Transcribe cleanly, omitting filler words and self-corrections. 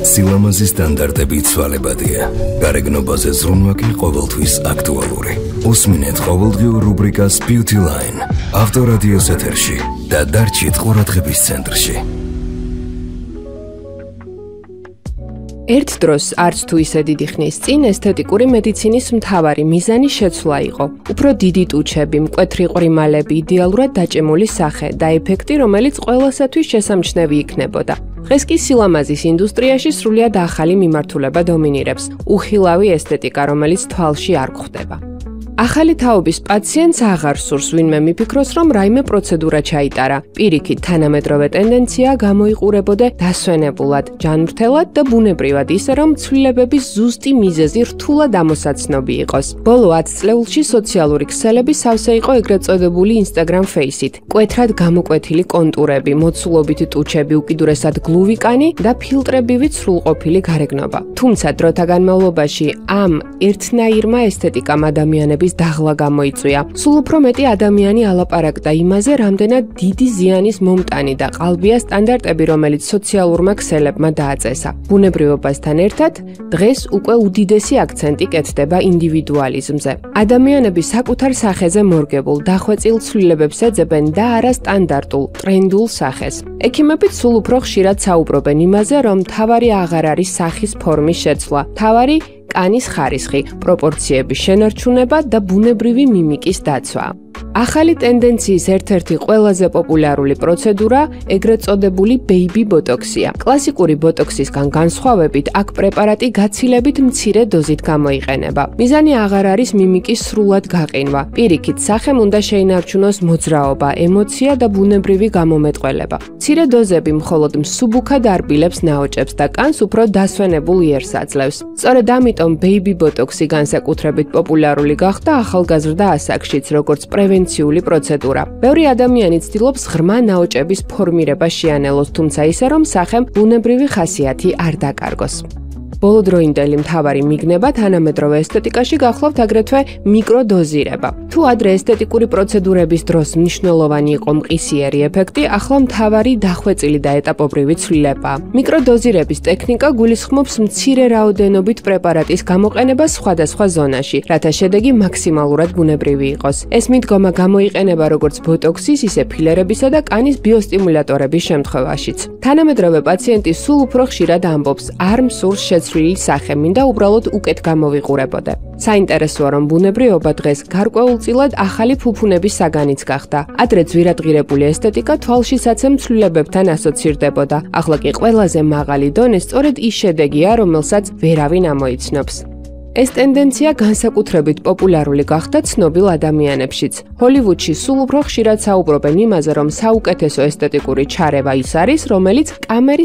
სილამაზის სტანდარტები ცვალებადია. გარეგნობაზე ზრუნვა კი ყოველთვის აქტუალური. უსმინეთ ყოველდღიურ რუბრიკას Beauty Line. ავტორადიოს ეთერში და დარჩით ყურადღების ცენტრში. ერთ დროს არც თუ ისე დიდი ხნის წინ ესთეტიკური მედიცინის მთავარი მიზანი შეცვლა იყო. უფრო დიდი ტუჩები, მკვეთრი ყრიმალები, იდეალურად დაჭემული სახე და ეფექტი, რომელიც ყველასათვის შესამჩნევი იქნებოდა. დღეს კი სილამაზის ინდუსტრიაში სრულიად ახალი მიმართულება დომინირებს. უხილავი ესთეტიკა, რომელიც თვალში არ გვხვდება. ახალი თაობის პაციენტს აღარ სურს ვინმე მიფიქროს, რომ რაიმე პროცედურა ჩაიტარა. პირიქით, თანამედროვე ტენდენცია გამოიყურებოდა დასვენებულად, ჯანმრთელად და ბუნებრივად, ისე რომ ცვლილებების ზუსტი მიზეზი რთულად ამოსაცნობი იყოს. ბოლო 10 წლეულში სოციალური ქსელები სავსე იყო ეგრეთ წოდებული Instagram Face-ით. კვეთრად გამოკვეთილი კონტურები, მოცულობითი ტუჩები, უკიდურესად გლუვი კანი და ფილტრებივით სრულყოფილი გარეგნობა. თუმცა დროთა განმავლობაში ამ ერთნაირმა ესთეტიკამ ადამიანების დაღლა გამოიწვია. სულ უფრო მეტი ადამიანი ალაპარაკდა იმაზე, რამდენად დიდი ზიანის მომტანი და ყალბია სტანდარტები, რომელიც სოციალურმა ქსელებმა დააწესა. ბუნებრივობასთან ერთად, დღეს უკვე უდიდესი აქცენტი კეთდება ინდივიდუალიზმზე. ადამიანები საკუთარ სახეზე მორგებულ, დახვეწილ ცვლილებებს ეძებენ და არა სტანდარტულ, ტრენდულ სახეს. ექიმებიც სულ უფრო ხშირად საუბრობენ იმაზე, რომ მთავარი აღარ არის სახის ფორმის შეცვლა, მთავარი კანის ხარისხი, პროპორციების შენარჩუნება და ბუნებრივი მიმიკის დაცვა. ახალი ტენდენციის ერთ-ერთი ყველაზე პოპულარული პროცედურა ეგრეთ წოდებული ბეიბი ბოტოქსია. კლასიკური ბოტოქსისგან განსხვავებით, აქ პრეპარატი გაცილებით მცირე დოზით გამოიყენება. მიზანი აღარ არის მიმიკის სრულად გაყინვა. პირიქით, სახემ უნდა შეინარჩუნოს მოძრაობა, ემოცია და ბუნებრივი გამომეტყველება. მცირე დოზები მხოლოდ მსუბუქად არბილებს ნაოჭებს და კანს უფრო დასვენებულ იერს აძლევს. სწორედ ამიტომ ბეიბი ბოტოქსი განსაკუთრებით პოპულარული გახდა ახალგაზრდა ასაკშიც, როგორც პრევენციული პროცედურა. ბევრი ადამიანი ცდილობს ღრმა ნაოჭების ფორმირება შეანელოს, თუმცა ისე რომ სახემ ბუნებრივი ხასიათი არ დაკარგოს. ბოლოდროინდელი მთავარი მიგნება თანამედროვე ესთეტიკაში გახლავთ აგრეთვე მიკროდოზირება. თუ ადრე ესთეტიკური პროცედურების დროს მნიშვნელოვანი იყო მყისიერი ეფექტი, ახლა მთავარი დახვეწილი და ეტაპობრივი ცვლილება. მიკროდოზირების ტექნიკა გულისხმობს მცირე რაოდენობით პრეპარატის გამოყენებას სხვადასხვა ზონაში, რათა შედეგი მაქსიმალურად ბუნებრივი იყოს. ეს მიდგომა გამოიყენება როგორც ბოტოქსის, ისე ფილერებისა და კანის ბიოსტიმულატორების შემთხვევაშიც. თანამედროვე პაციენტი სულ უფრო ხშირად ამბობს, არ მსურს შეცვლილი სახე, მინდა უბრალოდ უკეთ გამოვიყურებოდე. საინტერესოა, რომ ბუნებრიობა დღეს გარკვეულწილად ახალი ფუფუნების საგანიც გახდა. ადრე ძვირადღირებული ესთეტიკა თვალშისაცემ ცვლილებებთან ასოცირდებოდა. ახლა კი ყველაზე მაღალი დონე სწორედ ის შედეგია, რომელსაც ვერავინ ამოიცნობს. ეს ტენდენცია განსაკუთრებით პოპულარული გახდა ცნობილ ადამიანებშიც. ჰოლივუდში სულ უფრო ხშირად საუბრობენ იმაზე, რომ საუკეთესო ესთეტიკური ჩარევა ის არის, რომელიც კამერის